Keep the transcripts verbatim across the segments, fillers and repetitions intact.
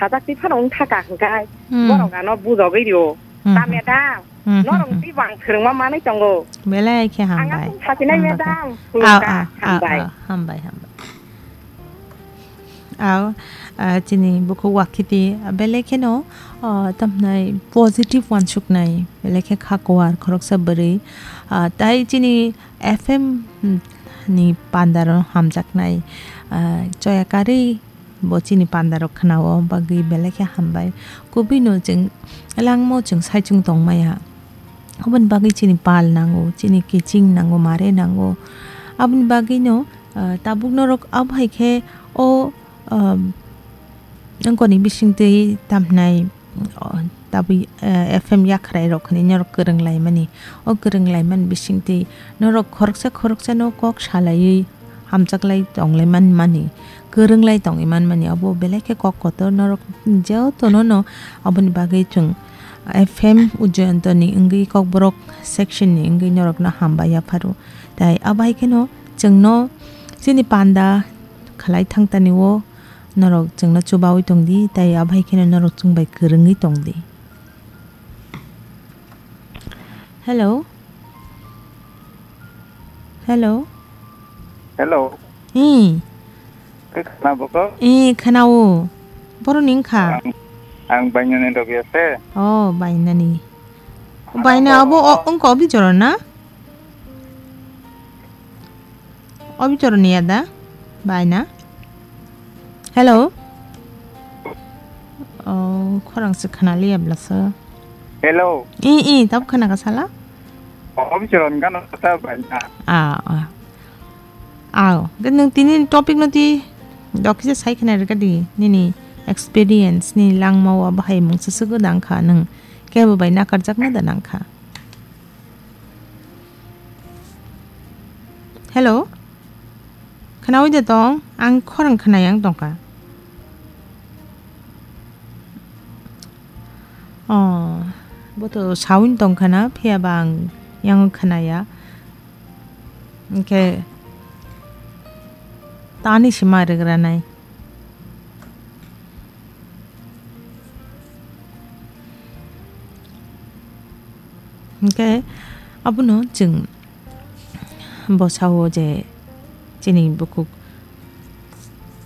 Ajak twi phano wng thaka hwnkhe Hmm. borok ano bujogwi rio. Hmm. Ta madam, Hmm, hmm, norok hmm. twi bang swrwngma manwi tongo. Belai khe Ang hambai. aswk sasinai Hambai khe. madam, Au, khulumkha, au, au, hambai. au, hambai, hambai. Au, ah, chini bukhuk wakhiti, ah, belai kheno, ah, tamhnai positive wansuknai, belai khe kha kuar khoroksa bwrwi, ah, tai chini F M ni pandaro hamjaknai, ah, choya karwi bo chini pandarok khnao bagwi belai khe hambai. Kubui no chwng langmao chwng saichung tongmaya. Aboni bagwi chini pal nango, chini kiching nango, mare nango. Aboni bagwi no, ah, tabuk norok abo hai khe o, ah, wngkoni bisingtwi tamhnai, o, tabwi, eh, F M yakhrai rok hinwi norok kwrwng laimani. O kwrwng laimani bisingtwi norok khoroksa khoroksa no kok salaiwi hamjaklai tonglai manmani, kwrwnglai tongwi manmani, abo belai khe kok kotor. Norok jotono no aboni bagwi chwng F M Ujoyantoni wngwi Kokborok section ni wngwi norokno hambai yapharo. Tai abo hai kheno chwngno chini panda khlai thangtani o norok chwngno chubaui tongdi, tai abo hai kheno norok chwng bai kwrwngwi tongdi. Hello. Hello. Hello. Eh. Khe khna boko? Eh, khnao. Borok ni wngkha? Ang, ang bainani logi ase. Oh, bainani. Baina abo o, wngkha obi jora na? Obi choroni ya da? Baina? Hello? Oh, khorang se khana liya blasa. Hello. I, i, tab khana ka sala? Obi choron gano ta baina. Ah, ah. Aw, ke nung tini topic no ti dokisa sai khana rega di, nini experience, ni langma wa bahai mung susugo dang kha nung. Kebo bai nakarjak na da nang kha. Hello? Khnaui de tong? Ang khorang khnai ang tongkha. Oh, bo to sound tongkha na, phiya ba ang yang khnaya. Hwnkhe tani se ma rwgranai. Hwnkhe abono chwng bwsao je chini bukhuk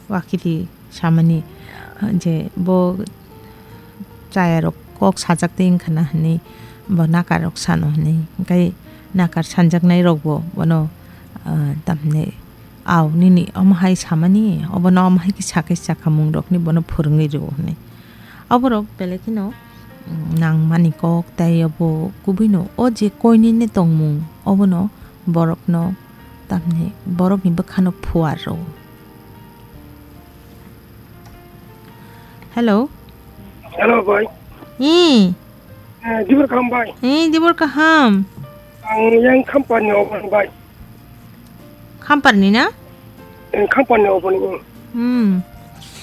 wakiti samani je bo chayarok kok sajak twi wngkha na hwnwi bo nakarrok sano hwnwi. Hwnkhe nakar sanjaknairokbo bono, ah, tamhinai, "Aw, nini omo hai samani, obono omo hai khe sakhe sakhamung rokni bono phwrwngwi rw," hwnwi. Oborok belai kheno, mm, nangmani kok, tei obo kubui no o je koinene tongmung, obono borokno, tamni borokni bwkhano phuar rw. Hello. Hello, bhai. Hmm. Eh, dibor kaham, bhai. Eh, dibor kaham. Ang yang Khamparni obo, bhai. Khamparni na? Eh, Khamparni obo ni. Hmm.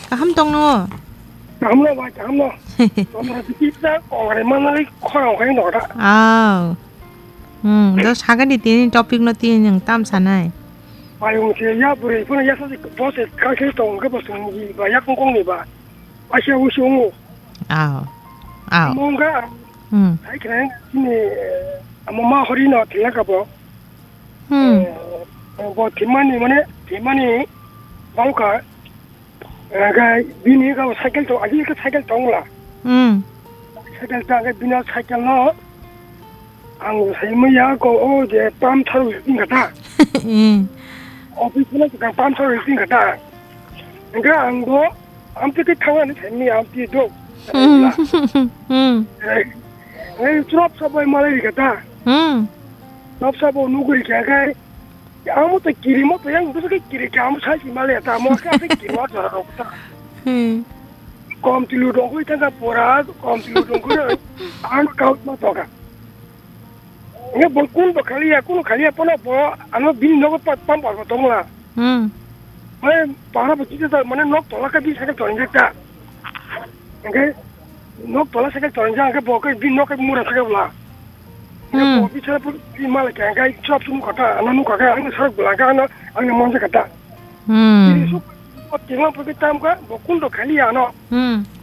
Kaham tongno? Kaham no, bhai, kaham no. Tongmani kita kongrai manali khorang khai no da. Aw. Hmm, do sagani tini topic no tini nang tam sanai. Bhai, ung se ya bwrwi phano ya sa bose kai khai tong khe bose ngi ba ya kong kong ni ba. Asia usi ungu. Aw. Aw. Mungga. Hmm. Hai khe ni, eh, amo ma hori no thila ka bo. Hmm. Eh, bo thimani mane, thimani bauka. Hwnkhe bini kabo cycle tong, agini khe cycle tong la. Hmm. Cycle tong, hwnkhe bini cycle no ang sai manya ko o je pump tharo wngkha ta. Hmm. Office no ka pump tharo wngkha ta. Hwnkhe ang bo amtwi khe thangani sai manya amtwi do. Hmm. Hmm. Eh, eh, chwrap sabai malai rikha ta. Hmm. Chwrap sabo nuguri kha khai. Amo to kirimo to yang busu ke kiri ke amo sai si male ta amo ka se kirimo jora rok ta. Hmm. Kom tilu dong kui tanga pora kom tilu dong kui ang kau ma to ka. Nge bol kun bo khali ya kun khali ya pono bo ano bin no pa pam pa tong la. Hmm. Mane para bo chita mane nok tola ka bin sa ka to nge ta. Nge nok tola sa ka to nge ke bo ke bin nok ke mura sa ka la. Hmm. Bo bichara pun di mala kya kai chop sum kata, ano nu kaka, ano sarok bula ka, ano, ano monja kata. Hmm. Ini su, o tingwa pun tam ka, bo kun do khali ano. Hmm.